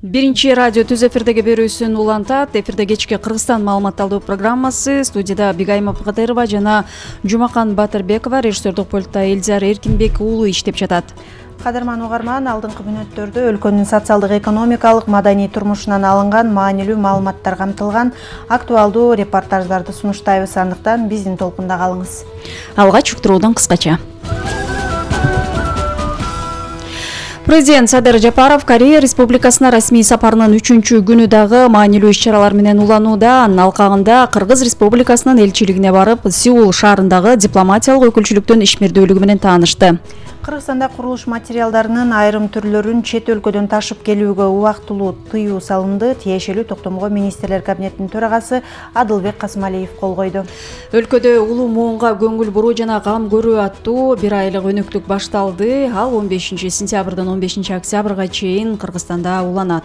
Биринчи радио түз эфирдеги берүүсүн улантат. Эфирде кечки Кыргызстан маалыматталдуу программасы. Студияда Бигайма Пыкадырова жана Жумакан Батырбекова, режиссердик пультта Элзар Эркинбек уулу иштеп жатат. Кадырман угарман, алдыңкы мүнөттөрдө өлкөнүн социалдык, экономикалык, маданий турмушунан алынган маанилүү маалыматтар камтылган актуалдуу репортаждарды сунуштайбыз. Андыктан биздин толкунда калыңыз. Алгач уктуруудан кыскача. Президент Садыр Жапаров Корея Республикасына расмий сапарынын 3-күнү дагы маанилүү иш-чаралар менен уланууда. Анын алкагында Кыргыз Республикасынын элчилигине барып, Сеул шаарындагы дипломатиялык өкүлчүлүктүн ишмердүүлүгү менен таанышты. Кыргызстанда курулуш материалдарынын айрым түрлөрүн чет өлкөдөн ташып келүүгө убактылуу тыюу салынды. Тиешелүү токтомго министрлер кабинетинин төрагасы Адылбек Касымалиев кол койду. Өлкөдө улуу муунга көңүл буруу жана кам көрүү аттуу бир айлык өнөктүк башталды. Ал 15 сентябрдан 15 октябрга чейин Кыргызстанда уланат.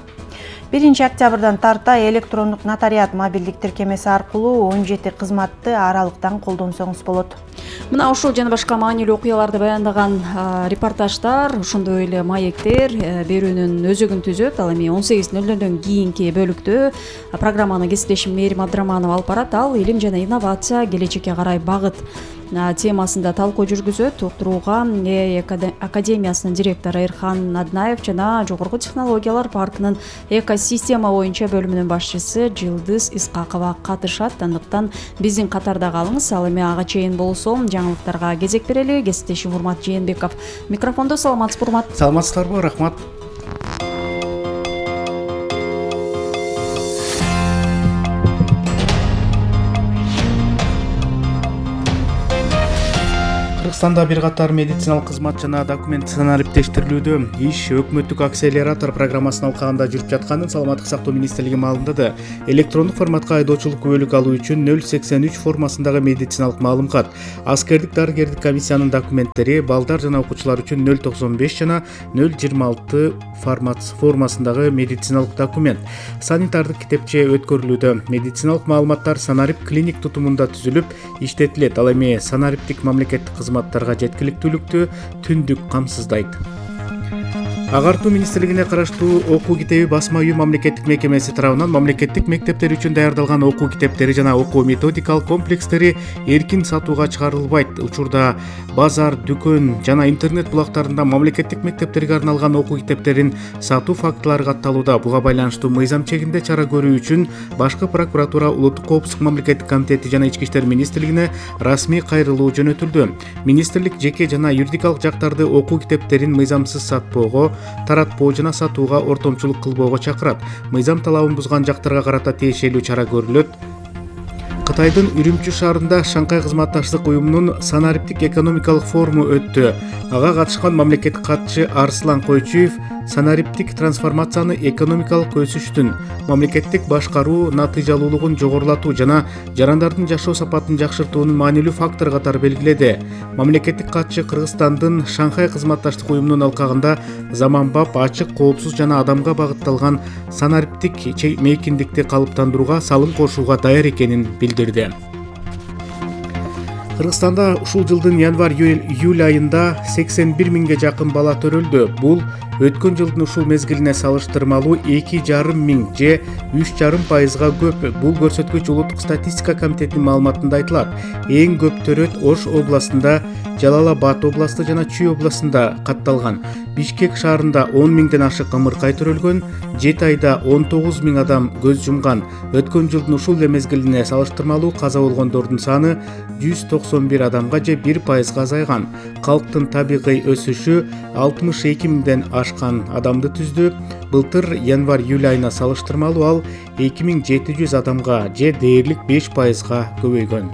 1 октябрдан тарта электрондук нотариат мобилдик тиркемеси аркылуу 17 кызматты аралыктан колдонсоңуз болот. Мына ушул жана башка маанилүү окуяларды баяндаган репортаждар, ошондой эле маектер берүүнүн өзөгүн түзөт. Ал эми 18:00-дөн кийинки бөлүктө программаны кесиптешим Мээрим Абдыраманова алып барат. Ал илим жана инновация, келечекке карай багыт темасында талкуу жүргүзөт. Уктурууга академиясынын директору Эрхан Аднаев жана Жогорку технологиялар паркынын экосистема боюнча бөлүмүнүн башчысы Жылдыз Искакова катышат. Андыктан биздин катарда калыңыз. Ал эми ага чейин болсом жаңылыктарга кезек берели. Кесиптешим Урмат Жээнбеков микрофондо. Саламатсызбы, Урмат? Саламатсыздарбы, рахмат. Кыргызстанда бир катар медициналык кызмат жана документ санариптештирилүүдө. Иш өкмөттүк акселератор программасынын алкагында жүрүп жатканын Саламаттык сактоо министрлиги маалымдады. Электрондук форматка айдоочулук күбөлүк алуу үчүн 083 формасындагы медициналык маалымкат, аскердик дарыгердик комиссиянын документтери, балдар жана окуучулар үчүн 095 жана 026 формасындагы медициналык документ, санитардык китепче өткөрүлүүдө. Медициналык маалыматтар санарип клиник тутумунда түзүлүп иштетилет. Ал эми санариптик мамлекеттик кызматтарга жеткиликтүүлүктү түндүк камсыздайт. Агартуу министрлигине караштуу окуу китеби басма үйү мамлекеттик мекемеси тарабынан мамлекеттик мектептер үчүн даярдалган окуу китептери жана окуу методикалык комплекстери эркин сатууга чыгарылбайт. Учурда базар, дүкөн жана интернет булактарында мамлекеттик мектептерге арналган окуу китептерин сатуу фактылары катталууда. Буга байланыштуу мыйзам чегинде чара көрүү үчүн Башкы прокуратура, Улуттук коопсуздук мамлекеттик комитети жана Ички иштер министрлигине расмий кайрылуу жөнөтүлдү. Министрлик жеке жана юридикалык жактарды окуу китептерин мыйзамсыз сатпоого, таратпоо жана сатууга ортомчулук кылбоого чакырат. Мыйзам талабын бузган жактарга карата тиешелүү чара көрүлөт. Кытайдын Үрүмчү шаарында Шанхай кызматташтык уюмунун санариптик экономикалык форуму өттү. Ага катышкан мамлекеттик катчы Арслан Койчуев санариптик трансформацияны экономикалык өсүштүн, мамлекеттик башкаруу натыйжалуулугун жогорулатуу жана жарандардын жашоо сапатын жакшыртуунун маанилүү фактор катары белгиледи. Мамлекеттик катчы Кыргызстандын Шанхай кызматташтык уюмунун алкагында заманбап, ачык, коопсуз жана адамга багытталган санариптик мейкиндикти калыптандырууга салым кошууга даяр экенин билдирди. Кыргызстанда ушул жылдын январь-июль айында 81 миңге жакын бала төрөлдү. Бул өткөн жылдын ушул мезгилине салыштырмалуу 2,5 миң же 3,5% көп. Бул көрсөткүч Улуттук статистика комитетинин маалыматында айтылат. Эң көп төрөт Ош областында, Жалал-Абад областы жана Чүй областында катталган. Бишкек шаарында 10 миңден ашык ымыркай төрөлгөн, 7 айда 19 миң адам көз жумган. Өткөн жылдын ушул эле мезгилине салыштырмалуу каза болгондордун саны 191 адамга же 1% азайган. Калктын табигый өсүшү 62 миңден ашкан адамды түздү. Былтыр январь-июль айына салыштырмалуу ал 2700 адамга же дээрлик 5% көбөйгөн.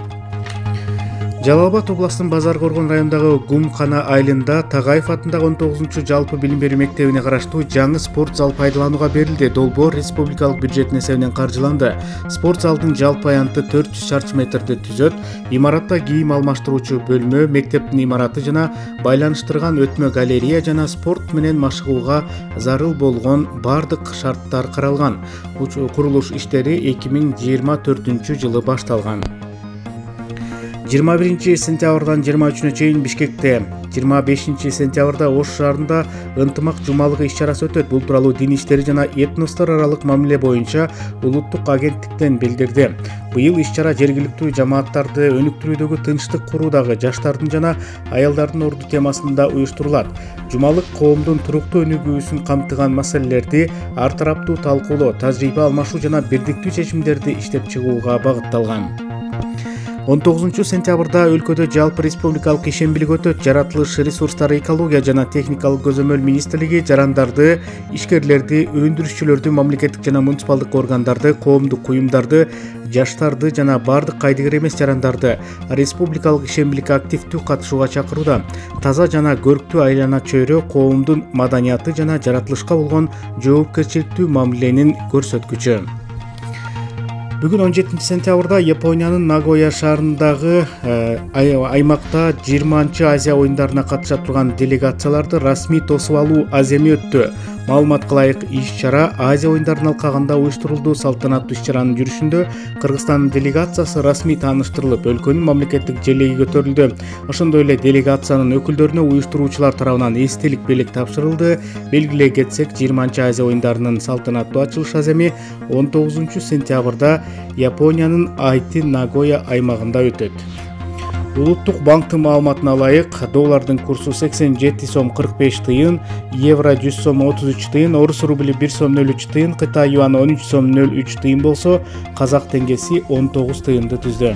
Жалал-Абад областынын Базар Коргон районундагы Гумкана айылында Тагаев атындагы 19 жалпы билим берүү мектебине караштуу жаңы спорт зал пайдаланууга берилди. Долбоор республикалык бюджет эсебинен каржыланды. Спорт залдын жалпы аянты 400 чарчы метрди түзөт. Имаратта кийим алмаштыруучу бөлмө, мектептин имараты жана байланыштырган өтмө галерея жана спорт менен машыгууга зарыл болгон бардык шарттар каралган. Курулуш иштери 2024 жылы башталган. 21 сентябрдан 23-нө чейин Бишкекте, 25 сентябрда Ош шаарында ынтымак жумалыгы иш-чарасы өтөт. Бул тууралуу дин иштери жана этностор аралык мамиле боюнча улуттук агенттиктен билдирди. Быйыл иш-чара жергиликтүү жамааттарды өнүктүрүүдөгү тынчтык куруудагы жаштардын жана аялдардын орду темасында уюштурулат. Жумалык коомдун туруктуу өнүгүүсүн камтыган маселелерди ар тараптуу талкуулоо, тажрыйба алмашуу жана бирдиктүү чечимдерди иштеп чыгууга багытталган. 19 сентябрда өлкөдө жалпы республикалык ишембилик өтөт. Жаратылыш ресурстары, экология жана техникалык көзөмөл министрлиги жарандарды, ишкерлерди, өндүрүшчүлөрдү, мамлекеттик жана муниципалдык органдарды, коомдук уюмдарды, жаштарды жана бардык кайдыгер эмес жарандарды республикалык ишембиликке активдүү катышууга чакырууда. Таза жана көрктүү айлана чөйрө коомдун маданияты жана жаратылышка болгон жоопкерчиликтүү мамиленин көрсөткүчү. Бүгүн 17 сентябрда Япониянын Нагоя шаарындагы аймакта 20-чы Азия оюндарына катыша турган делегацияларды расмий тосуп алуу аземи өттү. Маалыматка ылайык иш-чара Азия оюндарын алкагында уюштурулду. Салтанаттуу иш-чаранын жүрүшүндө Кыргызстандын делегациясы расмий тааныштырылып, өлкөнүн мамлекеттик желеги көтөрүлдү. Ошондой эле делегациянын өкүлдөрүнө уюштуруучулар тарабынан эстелик белек тапшырылды. Белгилей кетсек, 20-чы Азия оюндарынын салтанаттуу ачылыш аземи 19 сентябрда Япониянын Айти Нагоя аймагында өтөт. Улуттук банктын маалыматына ылайык, доллардын курсу 87 сом 45 тыйын, евро 100 сом 33 тыйын, орус рубли 1 сом 03 тыйын, Кытай юаны 13 сом 03 тыйын болсо, казак теңгеси 19 тыйынды түздү.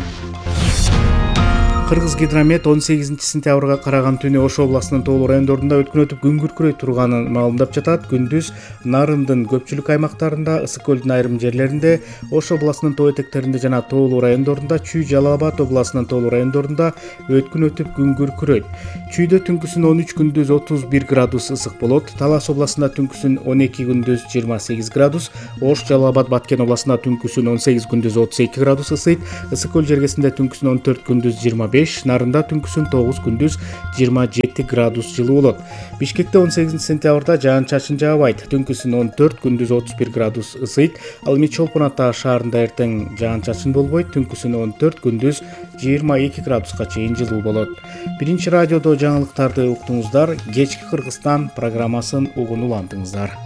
Кыргыз гидромет 18 сентябрга караган түнү Ош областынын тоолуу райондорунда өткөн өтүп күн күркүрөй турганын маалымдап жатат. Күндүз Нарындын көпчүлүк аймактарында, Ысык көлдүн айрым жерлеринде, Ош областынын тоо этектеринде жана тоолуу райондорунда, Чүй Жалал Абад областынын тоолуу райондорунда өткөн өтүп күн күркүрөйт. Чүйдө түнкүсүн 13, күндүз 31 градус ысык болот. Талас областында түнкүсүн 12, күндүз 28 градус, Ош, Жалал Абад, Баткен областында түнкүсүн 18, күндүз 32 градус ысыйт. Ысык көл жергесинде түнкүсүн 14, күндүз 25, Нарында түнкүсүн 9, күндүз 27 градус жылуу болот. Бишкекте 18 сентябрда жаан-чачын жаабайт. Түнкүсүн 14, күндүз 31 градус ысыйт. Ал эми Чолпон Ата шаарында эртең жаан-чачын болбойт. Түнкүсүн 14, күндүз 22 градуска чейин жылуу болот. Биринчи радиодо жаңылыктарды уктуңуздар. Кечки Кыргызстан программасын угун улантыңыздар.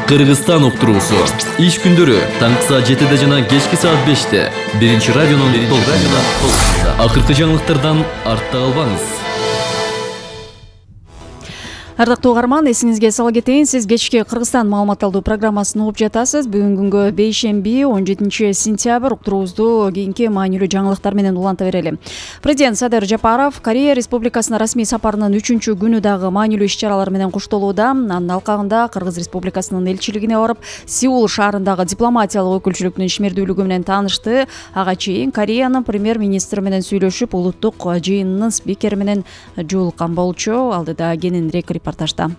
Кыргызстан уктуруусу иш күндөрү таңкы саат 7 жана кечки саат 5 биринчи радионун толкунунда. Акыркы жаңылыктардан артта калбаңыз. Ардактуу угарман, эсиңизге сала кетейин, сиз кечки Кыргызстан маалымат алуу программасын угуп жатасыз. Бүгүн күнгө бейшемби 17 сентябрь уктуруубузду кийинки маанилүү жаңылыктар менен уланта берели. Президент Садыр Жапаров Корея Республикасына расмий сапарынын 3-чү күнү дагы маанилүү иш-чаралар менен коштолууда. Анын алкагында Кыргыз Республикасынын элчилигине барып, Сеул шаарындагы дипломатиялык өкүлчүлүктүн ишмердүүлүгү менен таанышты. Ага чейин Кореянын премьер-министри менен сүйлөшүп, улуттук жыйынынын спикери менен жолуккан болчу. Алдыда кененирээк репортажда.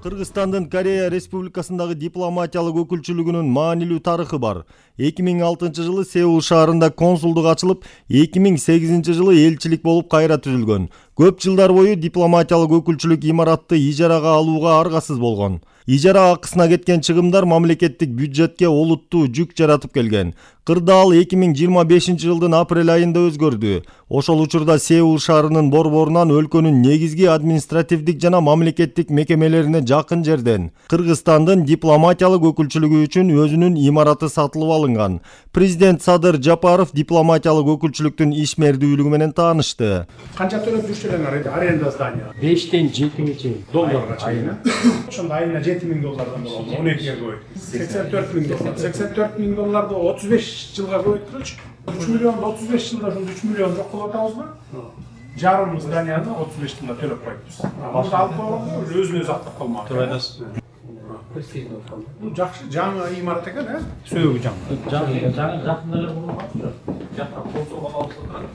Кыргызстандын Корея Республикасындагы дипломатиялык өкүлчүлүгүнүн маанилүү тарыхы бар. 2006 жылы Сеул шаарында консулдук ачылып, 2008 жылы элчилик болуп кайра түзүлгөн. Көп жылдар бою дипломатиялык өкүлчүлүк имаратты ижарага алууга аргасыз болгон. Ижара акысына кеткен чыгымдар мамлекеттик бюджетке олуттуу жүк жаратып келген. Кырдаал 2025 жылдын апрель айында өзгөрдү. Ошол учурда Сеул шаарынын борборунан өлкөнүн негизги административдик жана мамлекеттик мекемелерине жакын жерден Кыргызстандын дипломатиялык өкүлчүлүгү үчүн өзүнүн имараты сатылып алынган. Президент Садыр Жапаров дипломатиялык өкүлчүлүктүн ишмердүүлүгү менен таанышты. Канча төлөп жүрсүңөр аренда здания? 5-тен 7 чейин долларга чейин. Ошондо айына $7,000 болот. 12 көбөйт. $84,000. $84,000 35 жылга көбөйттүрүлчү. 3 миллион 35 жылда 3 миллион жок кылып атабызбы? Жарым зданияны 35 жылда төлөп койдуз. Аны алып койгондо өзүн өзү актап калмак. Туура айтасыз. Бул жакшы жаңы имарат экен, сөөгү жаңы. Жаңы жакында эле болуп калды. Жакка консулга алып турат.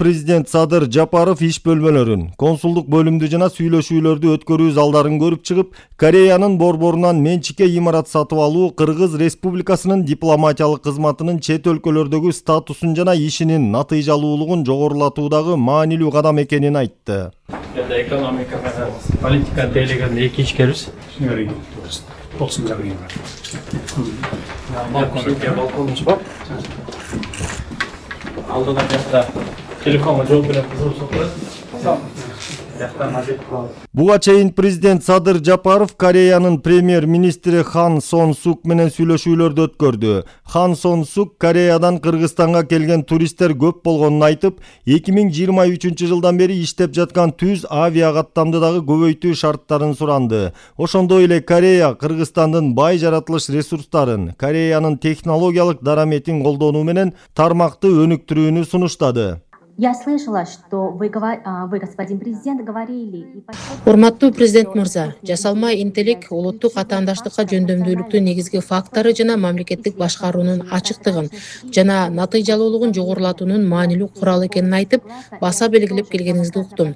президент Садыр Жапаров иш бөлмөлөрүн, консулдук бөлүмдү жана сүйлөшүүлөрдү өткөрүү залдарын көрүп чыгып, Кореянын борборунан менчикке имарат сатып алуу Кыргыз Республикасынын дипломатиялык кызматынын чет өлкөлөрдөгү статусун жана ишинин натыйжалуулугун жогорулатуудагы маанилүү кадам экенин айтты. Экономика менен политика тейлеген эки ишкербиз. Болсун жагы. Балконубуз бар. Алдыда жакта телефонго жооп берет кызып отурат. Буга чейин президент Садыр Жапаров Кореянын премьер-министри Хан Сон Сук менен сүйлөшүүлөрдү өткөрдү. Хан Сон Сук Кореядан Кыргызстанга келген туристтер көп болгонун айтып, 2023 жылдан бери иштеп жаткан түз авиа каттамды дагы көбөйтүү шарттарын суранды. Ошондой эле Корея Кыргызстандын бай жаратылыш ресурстарын, Кореянын технологиялык дараметин колдонуу менен тармакты өнүктүрүүнү сунуштады. Я слышала, что вы, господин президент, говорили... Урматтуу президент мырза, жасалма интеллект улуттук атаандаштыкка жөндөмдүүлүктүн негизги фактору жана мамлекеттик башкаруунун ачыктыгын жана натыйжалуулугун жогорулатуунун маанилүү куралы экенин айтып, баса белгилеп келгениңизди уктум.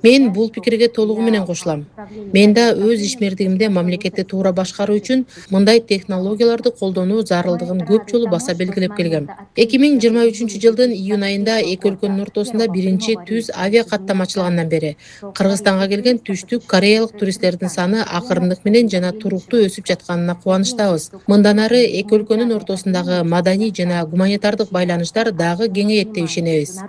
Мен бул пикирге толугу менен кошулам. Мен да өз ишмердигимде мамлекетти туура башкаруу үчүн мындай технологияларды колдонуу зарылдыгын көп жолу баса белгилеп келгем. 2023 жылдын июнь айында эки өлкөнүн ортосунда биринчи түз авиа каттам ачылгандан бери Кыргызстанга келген түштүк кореялык туристтердин саны акырындык менен жана туруктуу өсүп жатканына кубанычтабыз. Мындан ары эки өлкөнүн ортосундагы маданий жана гуманитардык байланыштар дагы кеңейет деп ишенебиз.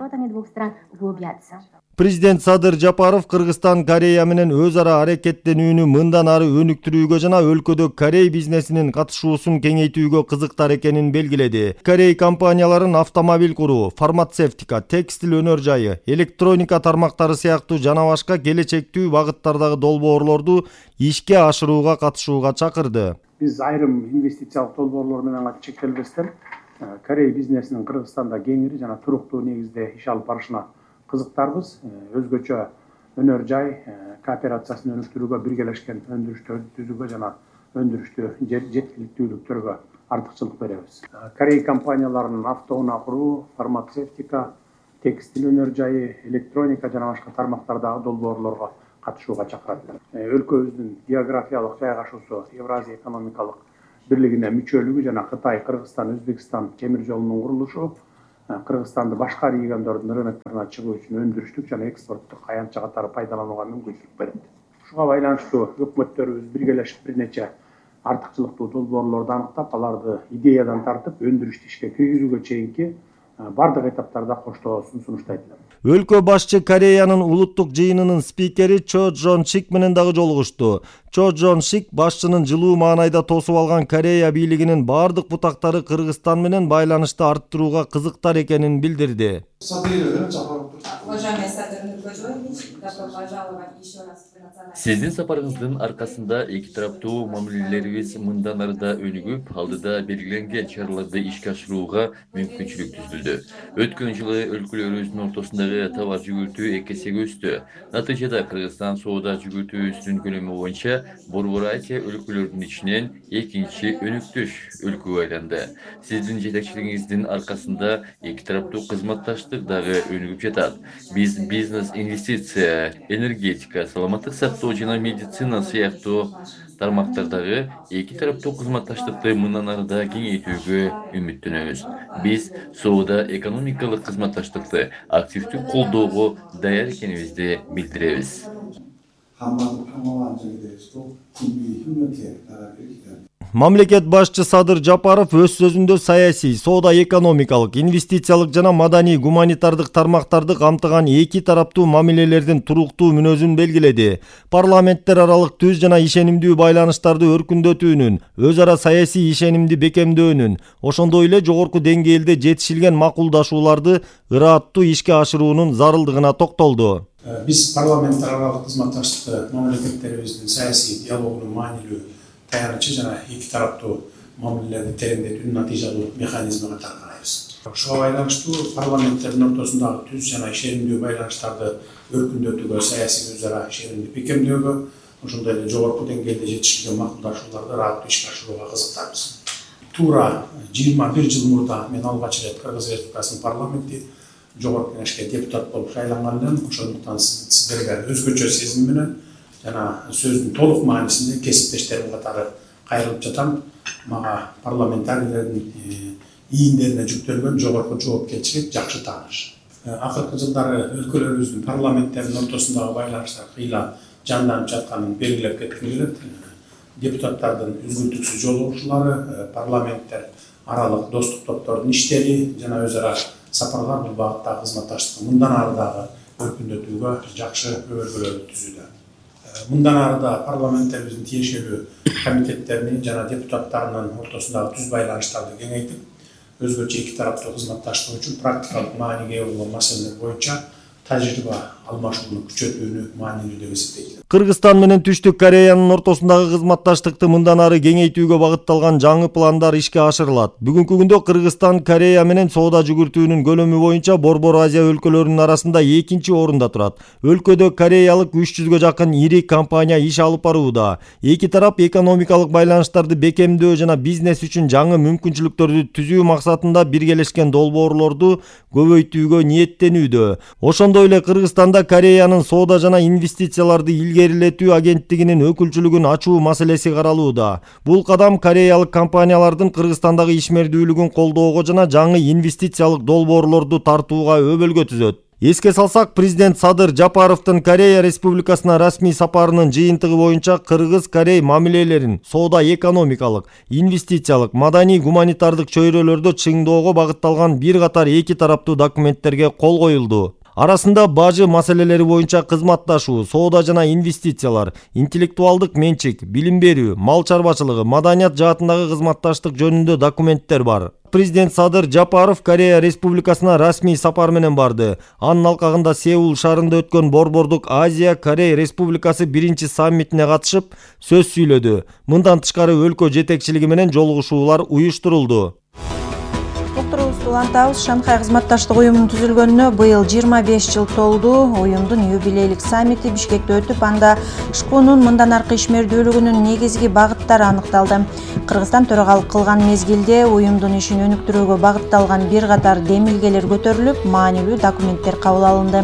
Президент Садыр Жапаров Кыргызстан Корея менен өз ара аракеттенүүнү мындан ары өнүктүрүүгө жана өлкөдө Корей бизнесинин катышуусун кеңейтүүгө кызыктар экенин белгиледи. Корей компанияларын автомобиль куруу, фармацевтика, текстил өнөр жайы, электроника тармактары сыяктуу жана башка келечектүү багыттардагы долбоорлорду ишке ашырууга катышууга чакырды. Биз айрым инвестициялык долбоорлор менен чектелбестен Корей бизнесинин Кыргызстанда кеңири жана туруктуу негизде иш алып барышына кызыктарбыз. Өзгөчө өнөр жай кооперациясын өнүктүрүүгө, биргелешкен өндүрүштөрдү түзүүгө жана өндүрүштү жеткиликтүүлүктөргө артыкчылык беребиз. Корей компанияларынын автоунаа куруу, фармацевтика, текстил өнөр жайы, электроника жана башка тармактардагы долбоорлорго катышууга чакырат. Өлкөбүздүн географиялык жайгашуусу, Евразия экономикалык бирлигине мүчөлүгү жана Кытай, Кыргызстан, Өзбекстан темир жолунун курулушу Кыргызстанды башка региондордун рынокторуна чыгуу үчүн өндүрүштүк жана экспорттук аянтча катары пайдаланууга мүмкүнчүлүк берет. Ушуга байланыштуу өкмөттөрүбүз биргелешип бир нече артыкчылыктуу долбоорлорду аныктап, аларды идеядан тартып өндүрүштү ишке киргизүүгө чейинки бардык этаптарда коштоосун сунуштайт элем. Өлкө башчы Кореянын улуттук жыйынынын спикери Чо Джон Сик менен дагы жолугушту. Чо Джон Сик башчынын жылуу маанайда тосуп алган Корея бийлигинин бардык бутактары Кыргызстан менен байланышты арттырууга кызыктар экенин билдирди. Сиздин сапарыңыздын аркасында эки тараптуу мамилелерибиз мындан ары да өнүгүп, алдыда белгиленген чараларды ишке ашырууга мүмкүнчүлүк түзүлдү. Өткөн жылы өлкөлөрүбүздүн ортосундагы товар жүгүртүү 2 эсеге өстү. Натыйжада Кыргызстан соода жүгүртүүсүнүн көлөмү боюнча Борбор Азия өлкөлөрүнүн ичинен экинчи өнүктүш өлкөгө айланды. Сиздин жетекчилигиңиздин аркасында эки тараптуу кызматташтык дагы өнүгүп жатат. Биз бизнес, инвестиция, энергетика, саламаттык сактоо жана медицина сыяктуу тармактардагы эки тараптуу кызматташтыкты мындан ары да кеңейтүүгө үмүттөнөбүз. Биз соода экономикалык кызматташтыкты активдүү колдоого даяр экенибизди билдиребиз. Мамлекет башчы Садыр Жапаров өз сөзүндө саясий, соода экономикалык, инвестициялык жана маданий гуманитардык тармактарды камтыган эки тараптуу мамилелердин туруктуу мүнөзүн белгиледи. Парламенттер аралык түз жана ишенимдүү байланыштарды өркүндөтүүнүн, өз ара саясий ишенимди бекемдөөнүн, ошондой эле жогорку деңгээлде жетишилген макулдашууларды ырааттуу ишке ашыруунун зарылдыгына токтолду. Биз парламенттер аралык кызматташтыкты мамлекеттерибиздин саясий диалогунун маанилүү таянычы жана эки тараптуу мамилелерди тереңдетүүнүн натыйжалуу механизми катары карайбыз. Ушуга байланыштуу парламенттердин ортосундагы түз жана ишенимдүү байланыштарды өркүндөтүүгө, саясий өз ара ишенимди бекемдөөгө, ошондой эле жогорку деңгээлде жетишилген макулдашууларды ырааттуу ишке ашырууга кызыктарбыз. Туура 21 жыл мурда мен алгач ирет Кыргыз Республикасынын парламенти жогорку кеңешке депутат болуп шайланган элем. Ошондуктан сиздерге өзгөчө сезим менен жана сөздүн толук маанисинде кесиптештерим катары кайрылып жатам. Мага парламентарийлердин ийиндерине жүктөлгөн жогорку жоопкерчилик жакшы тааныш. Акыркы жылдары өлкөлөрүбүздүн парламенттердин ортосундагы байланыштар кыйла жанданып жатканын белгилеп кетким келет. Депутаттардын үзгүлтүксүз жолугушуулары, парламенттер аралык достук топтордун иштери жана өз ара сапарлар бул багыттагы кызматташтыкты мындан ары дагы өркүндөтүүгө жакшы өбөлгөлөрдү түзүүдө. Мындан ары да парламенттерибиздин тиешелүү комитеттеринин жана депутаттарынын ортосундагы түз байланыштарды кеңейтип, өзгөчө эки тараптуу кызматташтык үчүн практикалык мааниге ээ болгон маселелер боюнча тажрыйба алмашууну күчөтүүнү маанилүү деп эсептейт. Кыргызстан менен Түштүк Кореянын ортосундагы кызматташтыкты мындан ары кеңейтүүгө багытталган жаңы пландар ишке ашырылат. Бүгүнкү күндө Кыргызстан Корея менен соода жүгүртүүнүн көлөмү боюнча Борбор Азия өлкөлөрүнүн арасында экинчи орунда турат. Өлкөдө кореялык 300гө жакын ири компания иш алып барууда. Эки тарап экономикалык байланыштарды бекемдөө жана бизнес үчүн жаңы мүмкүнчүлүктөрдү түзүү максатында биргелешкен долбоорлорду көбөйтүүгө ниеттенүүдө. Ошондой эле Кыргызстанда Кореянын соода жана инвестицияларды илгерилетүү агенттигинин өкүлчүлүгүн ачуу маселеси каралууда. Бул кадам кореялык компаниялардын Кыргызстандагы ишмердүүлүгүн колдоого жана жаңы инвестициялык долбоорлорду тартууга өбөлгө түзөт. Эске салсак, президент Садыр Жапаровдун Корея Республикасына расмий сапарынын жыйынтыгы боюнча Кыргыз-Корей мамилелерин соода экономикалык, инвестициялык, маданий гуманитардык чөйрөлөрдө чыңдоого багытталган бир катар эки тараптуу документтерге кол коюлду. Арасында бажы маселелери боюнча кызматташуу, соода жана инвестициялар, интеллектуалдык менчик, билим берүү, мал чарбачылыгы, маданият жаатындагы кызматташтык жөнүндө документтер бар. Президент Садыр Жапаров Корея Республикасына расмий сапар менен барды. Анын алкагында Сеул шаарында өткөн Борбордук Азия Корея Республикасы биринчи саммитине катышып, сөз сүйлөдү. Мындан тышкары өлкө жетекчилиги менен жолугушуулар уюштурулду. Уктуруубузду улантабыз. Шанхай кызматташтык уюмунун түзүлгөнүнө быйыл 25 жыл толду. Уюмдун юбилейлик саммити Бишкекте өтүп, анда ШКУнун мындан аркы ишмердүүлүгүнүн негизги багыттары аныкталды. Кыргызстан төрагалык кылган мезгилде уюмдун ишин өнүктүрүүгө багытталган бир катар демилгелер көтөрүлүп, маанилүү документтер кабыл алынды.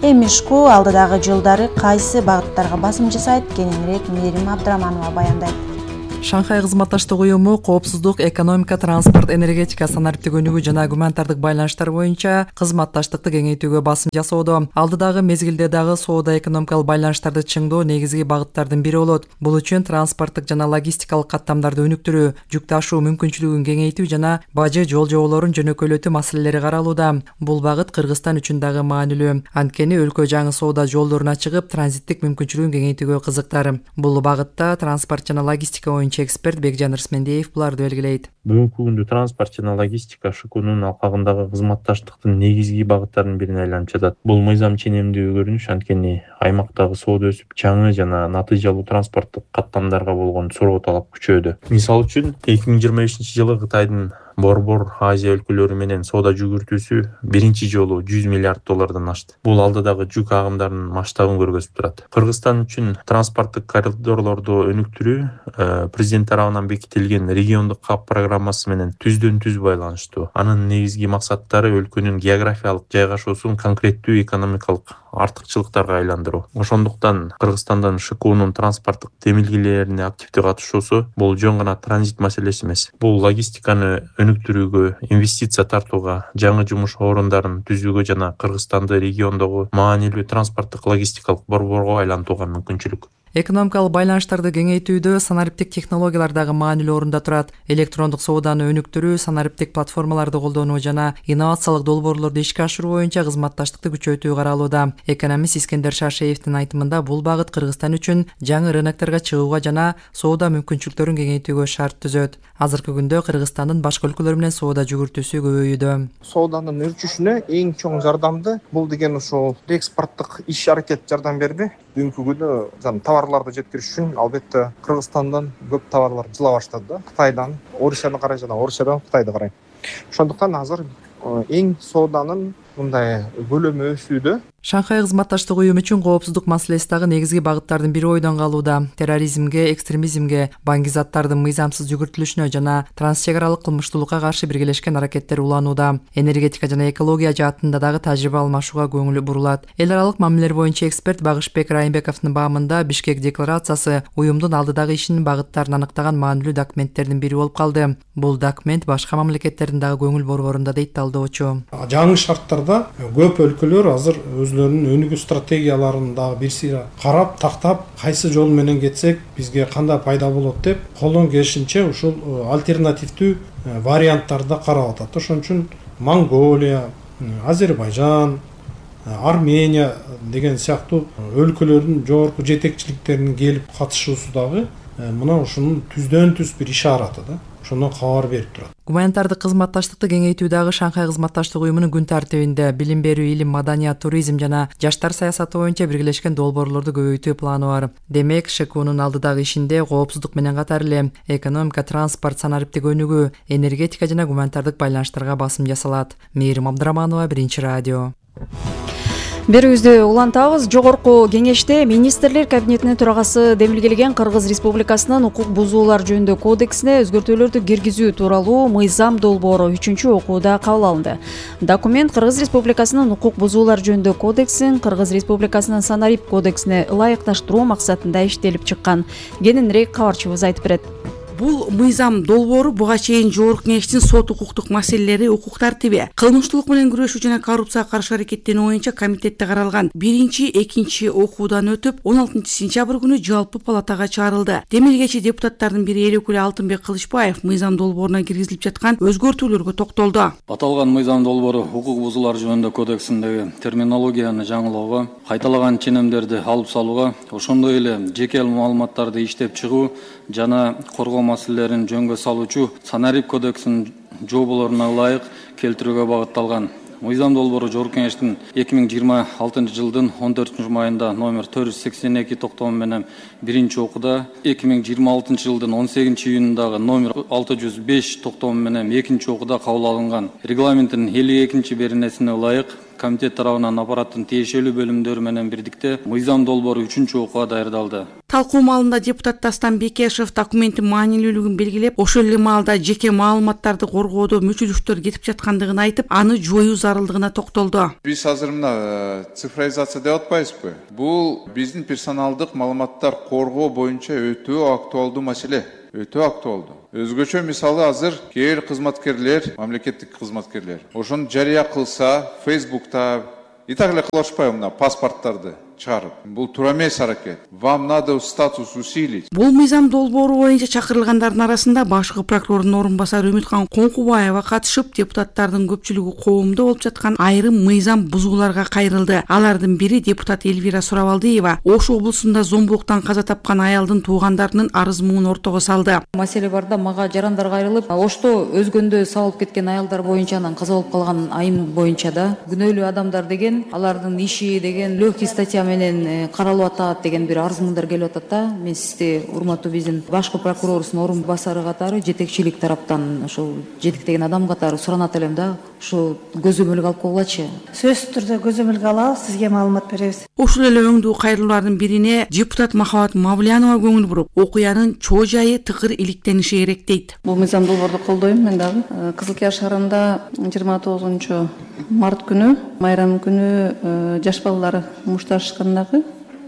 Эми ШКУ алдыдагы жылдары кайсы багыттарга басым жасайт? Кененирээк Мээрим Абдыраманова баяндайт. Шанхай кызматташтык уюму коопсуздук, экономика, транспорт, энергетика, санариптик өнүгүү жана гуманитардык байланыштар боюнча кызматташтыкты кеңейтүүгө басым жасоодо. Алдыдагы мезгилде дагы соода экономикалык байланыштарды чыңдоо негизги багыттардын бири болот. Бул үчүн транспорттук жана логистикалык каттамдарды өнүктүрүү, жүк ташуу мүмкүнчүлүгүн кеңейтүү жана бажы жол жоболорун жөнөкөйлөтүү маселелери каралууда. Бул багыт Кыргызстан үчүн дагы маанилүү. Анткени өлкө жаңы соода жолдоруна чыгып, транзиттик мүмкүнчүлүгүн кеңейтүүгө кызыктар. Бул багытта транспорт жана логистика эксперт Бекжан Рысмендиев буларды белгилейт. Бүгүнкү күндө транспорт жана логистика ШКУнун алкагындагы кызматташтыктын негизги багыттарынын бирине айланып жатат. Бул мыйзам ченемдүү көрүнүш, анткени аймактагы соода өсүп, жаңы жана натыйжалуу транспорттук каттамдарга болгон суроо талап күчөдү. Мисалы үчүн 2025-жылы Кытайдын Борбор Азия өлкөлөрү менен соода жүгүртүүсү биринчи жолу $100 миллиард ашты. Бул алдыдагы жүк агымдарынын масштабын көргөзүп турат. Кыргызстан үчүн транспорттук коридорлорду өнүктүрүү президент тарабынан бекитилген региондук кап программасы менен түздөн-түз байланыштуу. Анын негизги максаттары өлкөнүн географиялык жайгашуусун конкреттүү экономикалык артыкчылыктарга айландыруу. Ошондуктан Кыргызстандан ШКУнун транспорттук демилгелерине активдүү катышуусу бул жөн гана транзит маселеси эмес. Бул логистиканы өнүктүрүүгө, инвестиция тартууга, жаңы жумуш орундарын түзүүгө жана Кыргызстанды региондогу маанилүү транспорттук логистикалык борборго айлантууга мүмкүнчүлүк. Экономикалык байланыштарды кеңейтүүдө санариптик технологиялар дагы маанилүү орунда турат. Электрондук сооданы өнүктүрүү, санариптик платформаларды колдонуу жана инновациялык долбоорлорду ишке ашыруу боюнча кызматташтыкты күчөтүү каралууда. Экономист Искендер Шашеевдин айтымында бул багыт Кыргызстан үчүн жаңы рынокторго чыгууга жана соода мүмкүнчүлүктөрүн кеңейтүүгө шарт түзөт. Азыркы күндө Кыргызстандын башка өлкөлөр менен соода жүгүртүүсү көбөйүүдө. Сооданын өрчүшүнө эң чоң жардамды бул деген ушул экспорттук иш-аракет жардам берди. Бүгүнкү күндө товарларды жеткириш үчүн албетте Кыргызстандан көп товарлар жыла баштады да. Кытайдан Орусияны карай жана Орусиядан Кытайды карай. Ошондуктан азыр эң сооданын мындай көлөмү өсүүдө. Шанхай кызматташтык уюму үчүн коопсуздук маселеси дагы негизги багыттардын бири ойдон калууда. Терроризмге, экстремизмге, баңгизаттардын мыйзамсыз жүгүртүлүшүнө жана трансчек аралык кылмыштуулукка каршы биргелешкен аракеттер уланууда. Энергетика жана экология жаатында дагы тажрыйба алмашууга көңүл бурулат. Эл аралык мамилелер боюнча эксперт Багышбек Райымбековдун баамында Бишкек декларациясы уюмдун алдыдагы ишинин багыттарын аныктаган маанилүү документтердин бири болуп калды. Бул документ башка мамлекеттердин дагы көңүл борборунда дейт талдоочу. Жаңы шарттарда көп өлкөлөр азыр өзлөрүнүн өнүгүү стратегияларын дагы бир сыйра карап, тактап, кайсы жол менен кетсек бизге кандай пайда болот деп колдон келишинче ушул альтернативдүү варианттарды карап атат. Ошон үчүн Монголия, Азербайжан, Армения деген сыяктуу өлкөлөрдүн жогорку жетекчиликтеринин келип катышуусу дагы мына ушунун түздөн түз бир ишараты да. Ошондон кабар берип турат. Гуманитардык кызматташтыкты кеңейтүү дагы Шанхай кызматташтык уюмунун күн тартибинде. Билим берүү, илим, маданият, туризм жана жаштар саясаты боюнча биргелешкен долбоорлорду көбөйтүү планы бар. Демек, ШКУнун алдыдагы ишинде коопсуздук менен катар эле экономика, транспорт, санариптик өнүгүү, энергетика жана гуманитардык байланыштарга басым жасалат. Мээрим Абдыраманова, Биринчи радио. Берүүбүздү улантабыз. Жогорку кеңеште министрлер кабинетинин төрагасы демилгелеген Кыргыз Республикасынын укук бузуулар жөнүндө кодексине өзгөртүүлөрдү киргизүү тууралуу мыйзам долбоору 3-чү окууда кабыл алынды. Документ Кыргыз Республикасынын укук бузуулар жөнүндө кодексин Кыргыз Республикасынын санарип кодексине ылайыкташтыруу максатында иштелип чыккан. Кененирээк кабарчыбыз айтып берет. Бул мыйзам долбоору буга чейин жогорку кеңештин сот укуктук маселелери, укук тартиби, кылмыштуулук менен күрөшүү жана коррупцияга каршы аракеттенүү боюнча комитетте каралган 1-2 окуудан өтүп 16-сентябрь күнү жалпы палатага чыгарылды. Демилгечи депутаттардын бири эл өкүлү Алтынбек Кылычбаев мыйзам долбооруна киргизилип жаткан өзгөртүүлөргө токтолду. Аталган мыйзам долбоору укук бузуулар жөнүндө кодексиндеги терминологияны жаңылоого, кайталаган ченемдерди алып салууга, ошондой эле жеке маалыматтарды иштеп чыгуу жана коргоо маселелерин жөнгө салуучу санарип кодексинин жоболоруна ылайык келтирүүгө багытталган. Мыйзам долбоору жогорку кеңештин 2026 жылдын 14 майында номер 482 токтому менен биринчи окууда, 2026 жылдын 18 июнундагы номер 605 токтому менен экинчи окууда кабыл алынган. Регламенттин 52 беренесине ылайык комитет тарабынан аппараттын тиешелүү бөлүмдөрү менен бирдикте мыйзам долбоору 3-чү окууга даярдалды. Талкуу маалында депутат Дастан Бекешев документтин маанилүүлүгүн белгилеп, ошол эле маалда жеке маалыматтарды коргоодо мүчүлүктөр кетип жаткандыгын айтып, аны жоюу зарылдыгына токтолду. Биз азыр мына цифровизация деп атпайбызбы? Бул биздин персоналдык маалыматтар коргоо боюнча өтө актуалдуу маселе. Өтө актуалдуу. Өзгөчө мисалы азыр кээ бир кызматкерлер, мамлекеттик кызматкерлер ошону жарыя кылса, Facebook'та и так эле кылышпайбы мына паспорттарды чыгарып. Бул туура эмес аракет. Вам надо статус усилить. Бул мыйзам долбоору боюнча чакырылгандардын арасында башкы прокурордун орун басары Үмүткан Коңкубаева катышып, депутаттардын көпчүлүгү коомдо болуп жаткан айрым мыйзам бузууларга кайрылды. Алардын бири депутат Элвира Сурабалдиева Ош облусунда зомбулуктан каза тапкан аялдын туугандарынын арыз муун ортого салды. Маселе барда мага жарандар кайрылып, Ошто өзгөндө сабылып кеткен аялдар боюнча анан каза болуп калган айым боюнча да күнөөлүү адамдар деген, алардын иши деген легкий статья менен каралып атат деген бир арыз-мундар келип атат да. Мен сизди урматтуу биздин башкы прокурорубуздун орун басары катары жетекчилик тараптан ошол жетектеген адам катары суранат элем да, ушу көзөмөлгө алып койгулачы. Сөзсүз түрдө көзөмөлгө алабыз, сизге маалымат беребиз. Ошол эле өңдүү кайрылуулардын бирине депутат Махабат Мавлянова көңүл буруп, окуянын чоо жайы тыкыр иликтениши керек дейт. Бул мыйзам долбоорду колдойм мен дагы. Кызыл Кияр шаарында 29 март күнү, майрам күнү жаш балдар мушташкандагы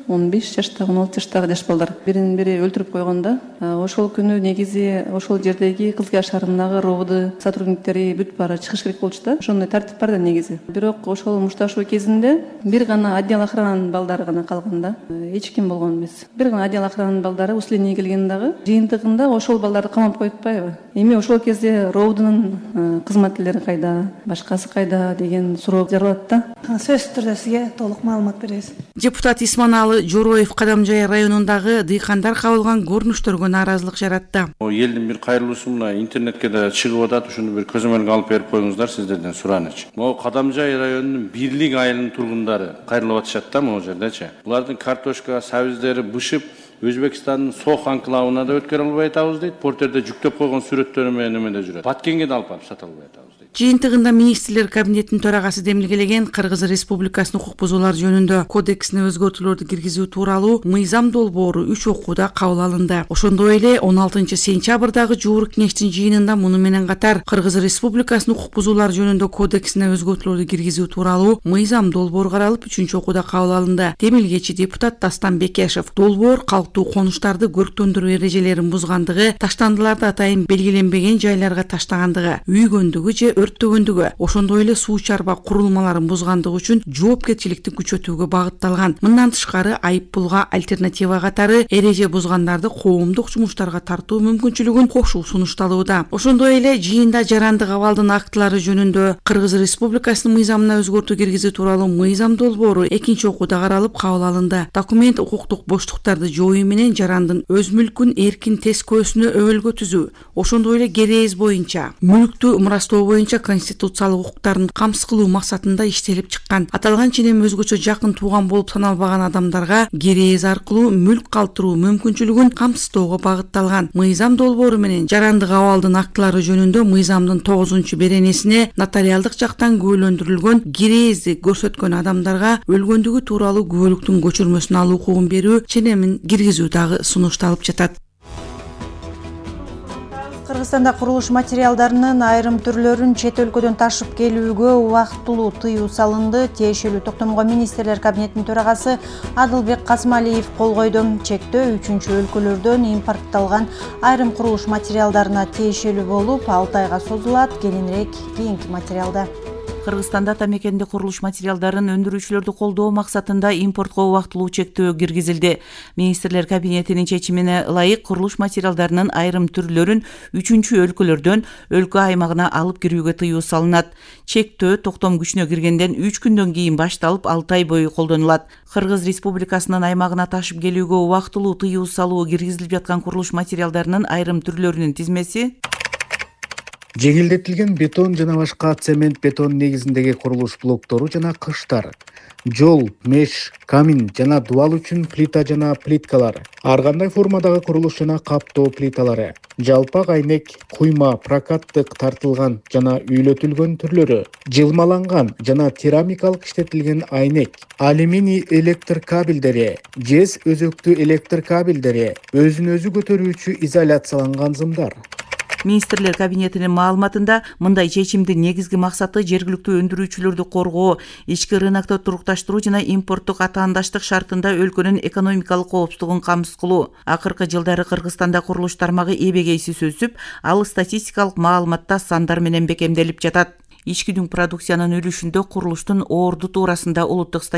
15 жаштагы, 16 жаштагы жаш балдар бирин бири өлтүрүп койгонда, ошол күнү негизи ошол жердеги Кызыл Кияр шаарындагы РОВД сотрудниктери бүт баары чыгыш керек болчу да. Ошондой тартип бар да негизи. Бирок ошол мушташуу кезинде бир гана отдел охрананын балдары гана калган да. Эч ким болгон эмес. Бир гана отдел охрананын балдары усиление келген дагы жыйынтыгында ошол балдарды камап коюп атпайбы? Эми ошол кезде РОВДнын кызматкерлери кайда, башкасы кайда деген суроо жаралат да. Сөзсүз түрдө сизге толук маалымат беребиз. Депутат Исманалы Жороев Кадамжай районундагы дыйкандар кабылган көрүнүштөргө нааразылык жаратты. Элдин бир кайрылуусу мына интернетке да чыгып атат, ушуну бир көзөмөлгө алып берип коюңуздар сиздерден суранычы. Могу Кадамжай районунун Бирлик айылынын тургундары кайрылып атышат да могу жердечи. Булардын картошка, сабиздери бышып, Өзбекстандын Сох анклавына да өткөрө албай атабыз дейт. Портерде жүктөп койгон сүрөттөрү менен эмеде жүрөт. Баткенге да алып барып сата албай атабыз дейт. Жыйынтыгында министрлер кабинетинин төрагасы демилгелеген Кыргыз Республикасынын укук бузуулар жөнүндө кодексине өзгөртүүлөрдү киргизүү тууралуу мыйзам долбоору 3 окууда кабыл алынды. Ошондой эле 16-сентябрдагы жууру кеңештин жыйынында муну менен катар Кыргыз Республикасынын укук бузуулар жөнүндө кодексине өзгөртүүлөрдү киргизүү тууралуу мыйзам долбоору каралып 3 окууда кабыл алынды. Демилгечи депутат Дастан Бекешев долбоор калктуу конуштарды көрктөндүрүү эрежелерин бузгандыгы, таштандыларды атайын белгиленбеген жайларга таштагандыгы, үйгөндүгү же өрттөгөндүгү, ошондой эле суу чарба курулмаларын бузгандыгы үчүн жоопкерчиликти күчөтүүгө багытталган. Мындан тышкары айып пулга альтернатива катары эреже бузгандарды коомдук жумуштарга тартуу мүмкүнчүлүгүн кошуу сунушталууда. Ошондой эле жыйында жарандык абалдын актылары жөнүндө Кыргыз Республикасынын мыйзамына өзгөртүү киргизүү тууралуу мыйзам долбоору 2 окууда каралып кабыл алынды. Документ укуктук боштуктарды жоюу менен жарандын өз мүлкүн эркин тескөөсүнө өбөлгө түзүү, ошондой эле керез боюнча мүлктү мурастоо боюнча конституциялык укуктарын камсыз кылуу максатында иштелип чыккан. Аталган ченем өзгөчө жакын тууган болуп саналбаган адамдарга керез аркылуу мүлк калтыруу мүмкүнчүлүгүн камсыздоого багытталган. Мыйзам долбоору менен жарандык абалдын актылары жөнүндө мыйзамдын 9-беренесине нотариалдык жактан күбөлөндүрүлгөн керезди көрсөткөн адамдарга өлгөндүгү тууралуу күбөлүктүн көчүрмөсүн алуу укугун берүү ченемин киргизүү дагы сунушталып жатат. Кыргызстанда курулуш материалдарынын айрым түрлөрүн чет өлкөдөн ташып келүүгө убактылуу тыюу салынды. Тиешелүү токтомго министрлер кабинетинин төрагасы Адылбек Касымалиев кол койду. Чектөө 3 өлкөлөрдөн импортталган айрым курулуш материалдарына тиешелүү болуп, 6 айга созулат. Кийинирээк кийинки материалда. Кыргызстанда тамекенде курулуш материалдарын өндүрүүчүлөрдү колдоо максатында импортко убактылуу чектөө киргизилди. Министрлер кабинетинин чечимине ылайык курулуш материалдарынын айрым түрлөрүн 3 өлкөлөрдөн өлкө аймагына алып кирүүгө тыюу салынат. Чектөө токтом күчүнө киргенден 3 күндөн кийин башталып 6 ай бою колдонулат. Кыргыз Республикасынын аймагына ташып келүүгө убактылуу тыюу салуу киргизилип жаткан курулуш материалдарынын айрым түрлөрүнүн тизмеси: жеңилдетилген бетон жана башка цемент бетон негизиндеги курулуш блоктору жана кыштар, жол, меш, камин жана дубал үчүн плита жана плиткалар, ар кандай формадагы курулуш жана каптоо плиталары, жалпак айнек, куйма, прокаттык тартылган жана үйлөтүлгөн түрлөрү, жылмаланган жана керамикалык иштетилген айнек, алюминий электр кабелдери, жез өзөктүү электр кабелдери, өзүн өзү көтөрүүчү изоляцияланган зымдар. Министрлер кабинетинин маалыматында мындай чечимдин негизги максаты жергиликтүү өндүрүүчүлөрдү коргоо, ички рынокто турукташтыруу жана импорттук атаандаштык шартында өлкөнүн экономикалык коопсуздугун камсыз кылуу. Акыркы жылдары Кыргызстанда курулуш тармагы эбегейсиз өсүп, ал статистикалык маалыматта сандар менен бекемделип жатат. Ички дүң продукциянын үлүшүндө курулуштун орду туурасында улуттук